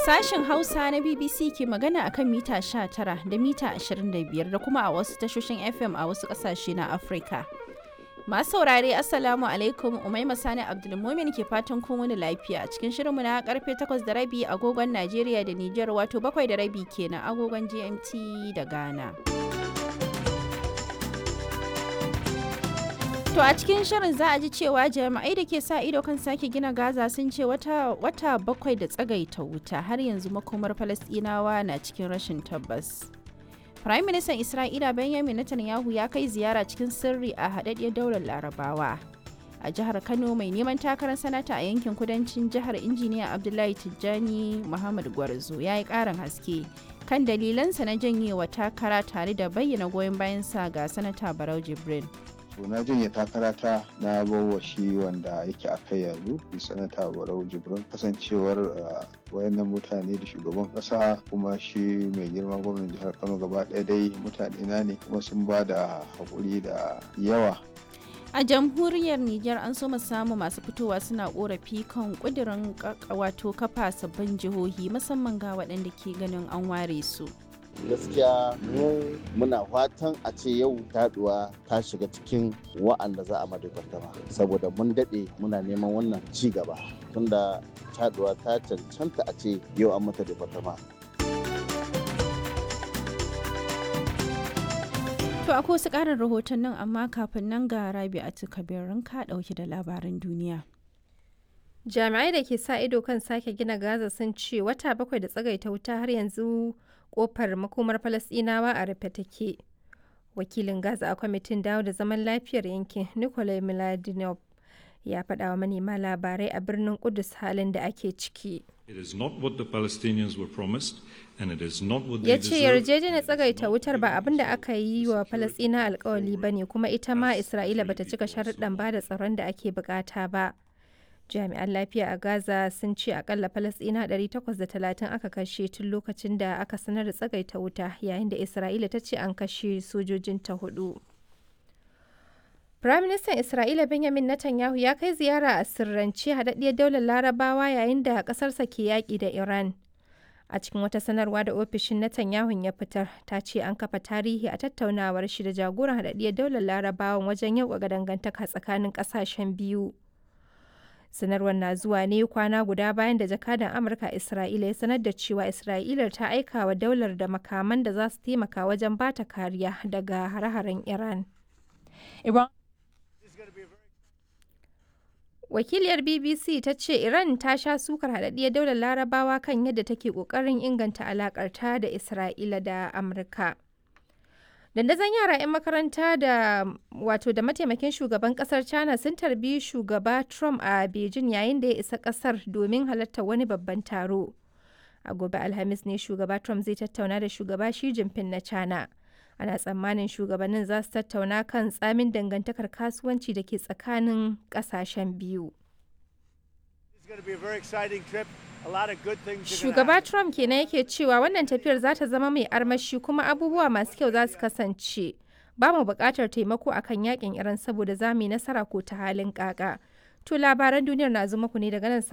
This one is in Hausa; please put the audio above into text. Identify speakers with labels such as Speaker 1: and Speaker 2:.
Speaker 1: Sashen Hausa na BBC ke magana akan mita 19 da mita 25 da kuma a wasu tashoshin FM a wasu ƙasashe na Afirka. Masu saurare, Assalamu alaikum, Umaima Sani Abdulmumin ke fatan kun wani lafiya a cikin shirinmu na karfe 8:30 agogon Najeriya da Nijar, wato 7:30 kenan agogon GMT da Ghana. To a cikin shirin za a ji cewa jami'ai da ke sa ido kan sake gina Gaza sun ce wata 7 da tsagaita wuta, har yanzu makomar Falasɗinawa na cikin rashin tabbas. Prime Minister Isra'ila Benjamin Netanyahu ya kai ziyara cikin sirri a haɗaɗɗiyar daular Larabawa. A jihar Kano, mai neman takarar sanata a yankin kudancin jihar, Injiniya Abdullahi Tijjani Muhammad Gwarzo, ya yi ƙarin haske kan dalilansa na janyewa takara tare da bayyana goyon bayansa ga Sanata Barau Jibrin.
Speaker 2: To, na janye takara ta, na bawa shi wanda yake a kai yanzu, Sanata Barau Jibrin. Kasancewar wayannan mutane da shugaban kasa kuma shi mai girma gwamnan jihar Kano, gaba ɗaya dai mutane na ne, kuma sun ba da haƙuri da yawa.
Speaker 1: A jamhuriyar Nijar, an so samu masu fitowa suna korafi kan kudirin wato kafa sabbin jihohi, musamman ga waɗanda ke ganin an ware su.
Speaker 3: Gaskiya mu muna fatan a ce yau taduwa ta shiga cikin wa'anda za a madaidaitama, saboda mun daɗe muna neman wannan ci gaba, tunda taduwa ta cancanta a ce yau an mata departama.
Speaker 1: To akwai wasu ƙarin rahoton nan, amma kafin nan ga Rabi'atu Kabirin ka ɗauki da labaran duniya.
Speaker 4: Jami'ai da ke sa ido kan sake gina Gaza sun ce wata 7 da tsagaita wuta, har yanzu kofar makomar Falasɗinawa a rufe take. Wakilin Gaza a kwamitin dawo da zaman lafiyar yankin, Nikolai Mladinov, ya faɗa wa manema labarai a birnin Kudus halin da ake ciki. Ya ce yarjejeniyar tsagaita wutar ba abin da aka yi wa Falasɗina alkawali ba ne, kuma ita ma Isra'ila bata cika sharuɗan ba da tsaron da ake bukata ba. Jami'an lafiya a Gaza sun ce akalla Falasɗina 830 aka kashe tun lokacin da aka sanar da tsagaita wuta, yayin da Isra'ila ta ce an kashe sojojinta hudu. Firaministan Isra'ila Benjamin Netanyahu ya kai ziyara a sirrance haɗaɗɗiyar daular Larabawa yayin da ƙasarsa ke yaƙi da Iran. A cikin wata sanarwa da ofishin Netanyahu ya fitar, ta ce an kafa tarihi a tattaunawar shi da jagoran haɗaɗɗiyar daular Larabawan wajen yauƙaƙa dangantaka tsakanin ƙasashen biyu. Sanarwar na zuwa ne kwana guda bayan da jakadan Amurka Isra'ila ya sanar da cewa Isra'ilar ta aika wa daular da makaman da za su taimaka wajen bata kariya daga hare-haren Iran. Wakiliyar BBC ta ce Iran ta sha sukar haɗaɗɗiyar daular Larabawa kan yadda take ƙoƙarin inganta alaƙarta da Isra'ila da Amurka. Dandazon yara 'yan makaranta da wato da mataimakin shugaban kasar China sun tarbi Shugaba Trump a Beijing yayin da ya isa kasar domin halartar wani babban taro. A gobe Alhamis ne Shugaba Trump zai tattauna da Shugaba Xi Jinping na China. Ana tsammanin shugabannin za su tattauna kan tsamin dangantakar kasuwanci da ke tsakanin kasashen biyu. Shugaba Trump kenan yake cewa wannan tafiyar za ta zama mai armashi kuma abubuwa masu kyau za su kasance. Ba mu buƙatar taimako akan yakin Iran saboda za mu yi nasara ko ta halin kaka. To, labaran duniyar na zo muku ne daga nan